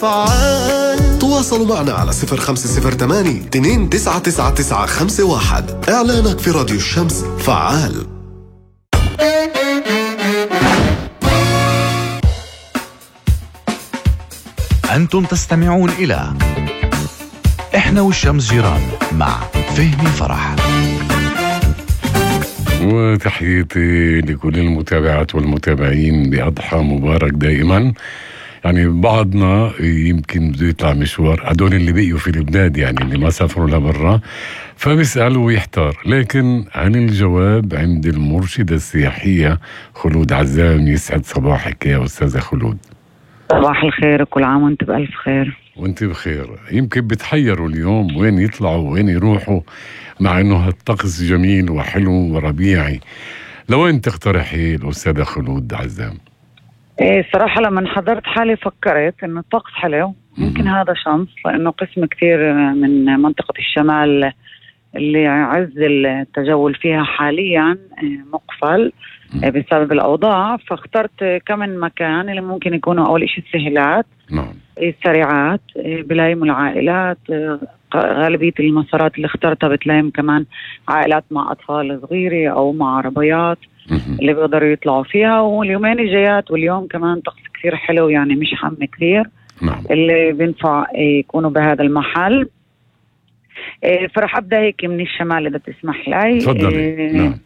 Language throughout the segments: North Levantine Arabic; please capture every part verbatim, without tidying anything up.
فعال. تواصلوا معنا على صفر خمسة صفر ثمانية اثنين تسعة تسعة تسعة خمسة واحد. إعلانك في راديو الشمس. فعال. أنتم تستمعون إلى إحنا والشمس جيران مع فهمي فرح. وتحياتي لكل المتابعات والمتابعين بأضحى مبارك دائما. يعني بعضنا يمكن بده يطلع مشوار، هدول اللي بقيوا في البلاد يعني اللي ما سافروا لبرا، فبيسأل ويحتار، لكن عن الجواب عند المرشدة السياحية خلود عزام. يسعد صباحك يا أستاذة خلود. صباح الخير، كل عام وانت بألف خير. وانت بخير. يمكن بتحيروا اليوم وين يطلعوا وين يروحوا، مع انه هالطقس جميل وحلو وربيعي. لوين تقترحي الأستاذة خلود عزام؟ ايه صراحة لما حضرت حالي فكرت انه الطقس حلو، ممكن هذا شمس، لانه قسم كثير من منطقة الشمال اللي عز التجول فيها حاليا مقفل بسبب الأوضاع، فاخترت كمان مكان اللي ممكن يكونوا أول إشي السهلات، نعم، السريعات، بلايم العائلات. غالبية المسارات اللي اخترتها بتلايم كمان عائلات مع أطفال صغيرة أو مع عربيات اللي بيقدروا يطلعوا فيها. واليومين الجايات واليوم كمان طقس كثير حلو، يعني مش حم كثير، نعم، اللي بينفع يكونوا بهذا المحل. فرح أبدأ هيك من الشمال إذا تسمح لي. تفضلي. نعم.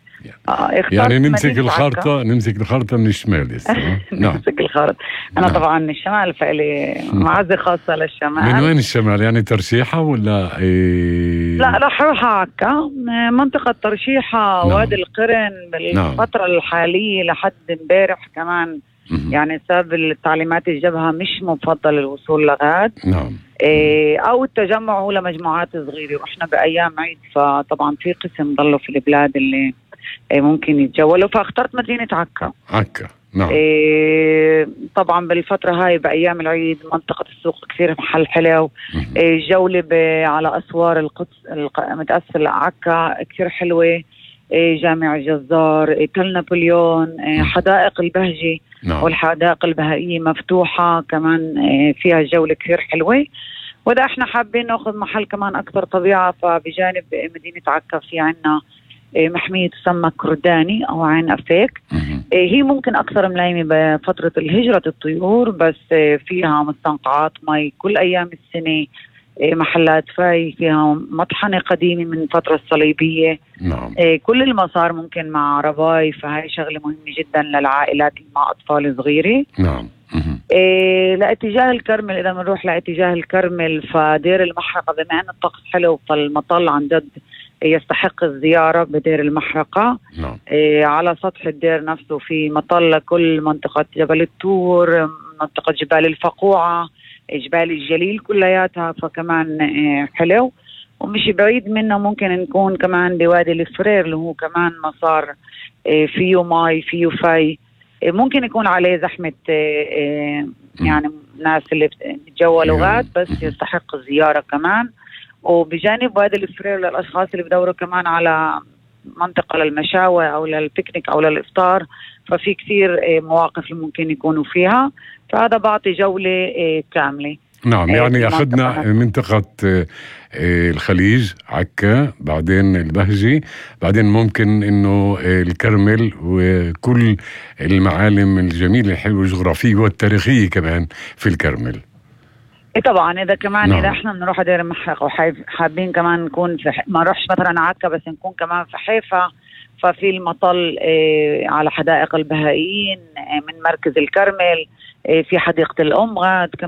آه يعني نمسك الخارطة نمسك الخارطة من الشمال لسه. نعم. نمسك الخارطة. أنا نعم. طبعا من الشمال، فإلي معزة خاصة للشمال. من وين الشمال؟ يعني ترشيحة ولا إيه؟ لا رح أروح عكا، منطقة ترشيحة. نعم. وادي القرن بالفترة نعم. الحالية لحد امبارح كمان م- يعني سبب التعليمات الجبهة مش مفضل الوصول لغاد. نعم. إيه أو التجمع هو لمجموعات صغيرة، وإحنا بأيام عيد، فطبعا في قسم ضلوا في البلاد اللي ممكن يتجولوا، فاخترت مدينة عكا. عكا نعم. إيه طبعا بالفترة هاي بأيام العيد منطقة السوق كثير محل حلو. إيه جولة على أسوار القدس متأثر لعكا كثير حلوة. إيه جامع الجزار، إيه تل نابليون، إيه حدائق البهجي نعم. والحدائق البهائية مفتوحة كمان، إيه فيها جولة كثير حلوة. وإذا احنا حابين ناخذ محل كمان أكثر طبيعة، فبجانب مدينة عكا في عنا محمية تسمى كرداني أو عين أفيك. هي ممكن أكثر ملايمة بفترة الهجرة الطيور، بس فيها مستنقعات مي كل أيام السنة، محلات فاي، فيها مطحنة قديمة من الفترة الصليبية. نعم. كل المسار ممكن مع عرباي، فهي شغلة مهمة جدا للعائلات اللي مع أطفال صغيرة. نعم. إيه لاتجاه الكرمل، إذا بنروح لاتجاه الكرمل فدير المحرقة، بما أن الطقس حلو فالمطل عن جد يستحق الزيارة بدير المحرقة. نعم. إيه على سطح الدير نفسه في مطل كل منطقة جبل التور، منطقة جبال الفقوعة، جبال الجليل كلياتها، فكمان إيه حلو. ومش بعيد منه ممكن نكون كمان بوادي الفرير اللي هو كمان مسار إيه فيه ماي فيه فاي، إيه ممكن يكون عليه زحمة إيه يعني ناس اللي بتجولوا غاد، بس يستحق الزيارة كمان. وبجانب وادي الفرير للأشخاص اللي بدوروا كمان على منطقة للمشاوي أو للبيكنيك أو للإفطار، ففي كثير مواقف اللي ممكن يكونوا فيها، فهذا بعطي جولة كاملة. نعم. يعني أخذنا منطقة الخليج عكا، بعدين البهجي، بعدين ممكن إنه الكرمل وكل المعالم الجميلة الحلوة الجغرافية والتاريخية كمان في الكرمل. إيه طبعا إذا كمان نعم. إذا إحنا بنروح دير المحرقة وحابين كمان نكون في ح... ما نروحش مثلا عكا بس نكون كمان في حيفا، ففي المطل إيه على حدائق البهائيين إيه من مركز الكرمل، إيه في حديقة الأم غاد كمان.